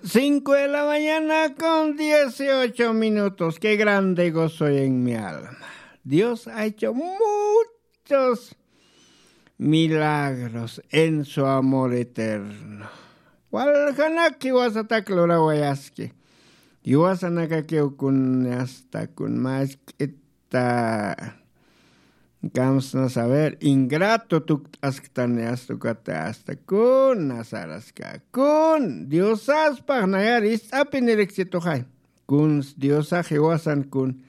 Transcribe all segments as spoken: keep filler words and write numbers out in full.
Cinco de la mañana con dieciocho minutos. Qué grande gozo en mi alma. Dios ha hecho muchos milagros en su amor eterno. Waljanaki wasatak lurawayaski. Yuwasanakakiw kun asta kun mask'ita. Kamsna saber ingrato tukt'asktan asta ukata asta kun nasaraska kun diosaspax nayar ist'api niriksituxay. Kuns diosax jiwasan kun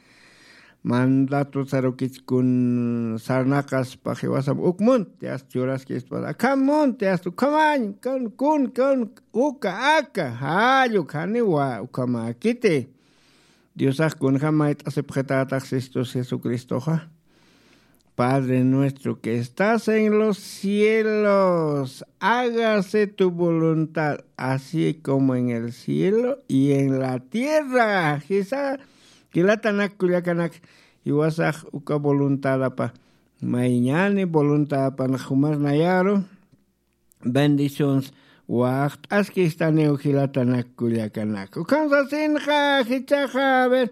mandato sarukich kun sarnaqaspax jiwasam uk munti asta churaskispas akham munti asta ukhamañ kun kun kun uka aka jalluk janiwa ukhamäkiti. Diosax kunjam mayt'asipxitätax sistus jesucristoxa. Padre nuestro que estás en los cielos, hágase tu voluntad, así como en el cielo y en la tierra. Jisa jilatanak kullakanak jiwasax uka voluntadapa mayñani voluntadapan jumar nayaru. Bendiciones. Waxt'askistaniw jilatanak kullakanak ukham sasinxa jichaxa a ver.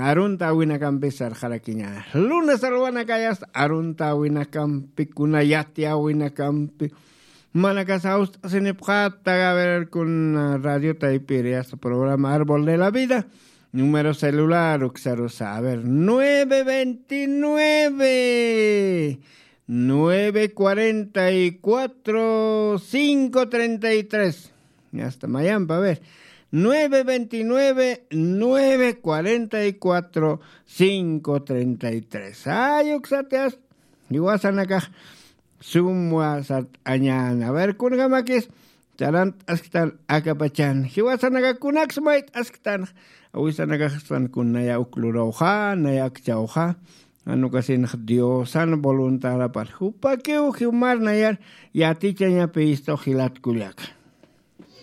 Arunta awinakampi sarxarakiña lunes alwanakayasta arunta awinakampi kuna yati awinakampi. Manakas awst'asinipxata a ver kuna radio taypiri asta programa árbol de la vida. Número celular uksarusa a ver nueve veintinueve nueve cuarenta y cuatro cinco treinta y tres. Asta mayampa a ver nueve veintinueve nueve cuarenta y cuatro cinco treinta y tres. Ay uksatias. Iwasanakax sumwa sart'añan a ver kunkamakis. Tarant'asktan akapachan jiwasanakakunaks mayt'asktan awisanakaxstan kun naya uklurawxa naya akchawxa. Anukasinx diosan voluntadapar jupakiw jumar nayar yatichañapi istux jilatkullaka.